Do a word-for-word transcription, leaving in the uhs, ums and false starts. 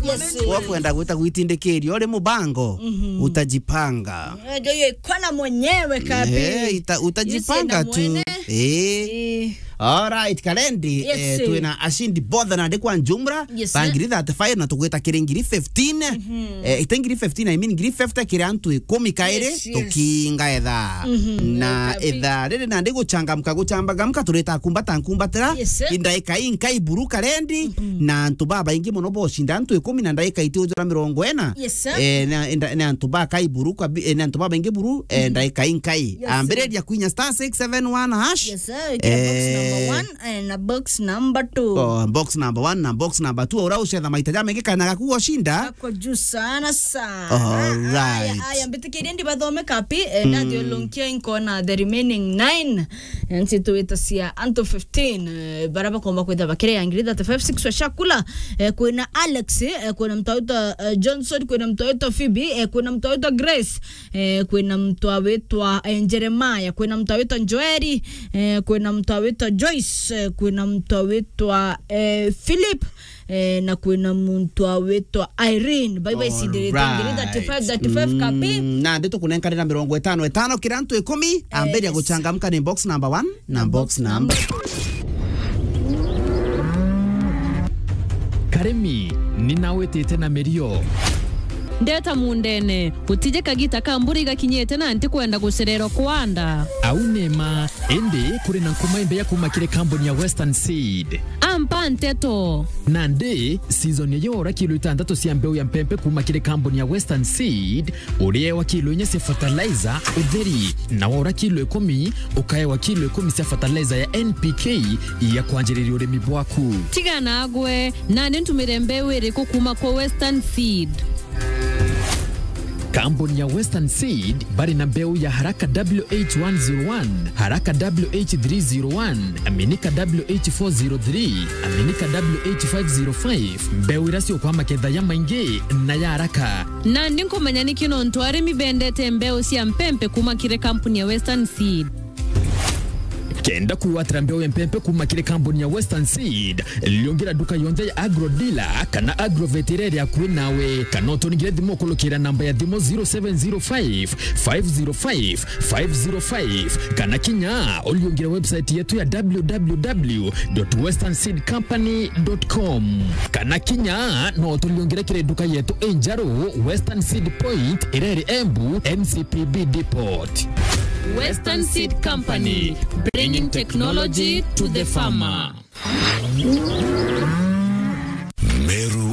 Yes. Wakwenda gwita gwitindikiria uri mubango, utajipanga. Eh, ndio hiyo iko na mwenyewe kabi. Eh, ita-, utajipanga tu. Eh. Eh. All right, Kalendi, yes, eh, twina ashindi bothe na ndikwa njumra, yes, ba ngiri thirty-five na tugwita kiri ngiri fifteen. Eh, ite ngiri fifteen, I mean, ngiri fifty kiri antu ikumi kairi, yes, yes, tukinga etha. Na etha riri na ndiguchangamka, guchambagamka, turita kumbata nkumbatira. Yes, sir. Indaika inkai buru Kalendi, na antu babaingi muno bocinda antu ikumi na ndaika iti ujura mirongo ina. Yes, sir. Eh, na, na, na antu bakai buru kwa bi-, eh, na antu babaingi buru, eh, ndaika inkai. Yes, sir. Ambiriria kwinya star six seven one hash. Yes, sir. Ikira box number one, eh, na box number two. Oh, box number one na box number two. Ura ucetha maita jamaingi kana gaku goshinda. Ako juu sana sana. All right. Aya, aya, mbitikirie ndibathome kapi, eh, ndathi ulunkia inkona the remaining nine. Nsi twita cia antu fifteen, eh, bara bakomba kwitha bakiri ya ngiri thirty-five, six wa chakula, eh, kwina Alex, eh, kwina mtu awitwa, eh, Johnson, kwina mtu awitwa Phoebe, eh, kwina mtu awitwa Grace, eh, kwina mtu awitwa, eh, Jeremiah, kwina mtu awitwa Joeli, eh, kwina mtu awitwa Joyce, eh, kwina mtu awitwa, eh, Philip, eh, na kwina muntu awitwa Irene. Bye bye, cindirite ngiri thirty-five, thirty-five kapi. Mm, na ndi tukunenkanira mirongo itano itano kira antu ikumi, ambiria guchangamka ni box number one na box number. Karimi, ni nawitite na mirio. Ndeta mundene, gutije kagita ka mbura igakinyite na ntikwenda gucererwa kwanda. Au ni ma, indi kuri na nkuma imbeya kuma kiri kambuni ya Western Seed. Ampa nteto. Nandi, season ya yora kilo itantatu cia mbeu ya mpempe kuma kiri kambuni ya Western Seed, uriewa kilo inya cia fertilizer utheri, na wora kilo ikumi, ukaewa kilo ikumi cia fertilizer ya N P K ya kwanjiriria urimi bwaku. Tiga nagwe, nandi ntumire mbeu iriku kuma kwa Western Seed? Kambuni ya Western Seed bari na mbeu ya Haraka W H one zero one, Haraka W H three zero one, Aminika W H four zero three, Aminika W H five zero five, mbeu iria ciukwa maketha ya maingi na ya haraka. Nandi nkumenya niki nontu arimi bendete mbeu cia mpempe kuma kiri kambuni ya Western Seed. Kenda kwigwatira mbeu ya mpempe kuma kiri kambuni ya Western Seed, liungira nduka yonthe ya Agro Dealer kana Agrovet iria iri akui nawe, kana uturingire thimu ukulukira namba ya thimu zero seven zero five, five zero five, five zero five, kana kinya uliungire website yetu ya w w w dot western seed company dot com, kana kinya no utuliungire kiri nduka yetu injeru, Western Seed Point, iria iri Embu, N C P B Depot. Western Seed Company, bringing technology to the farmer. Meru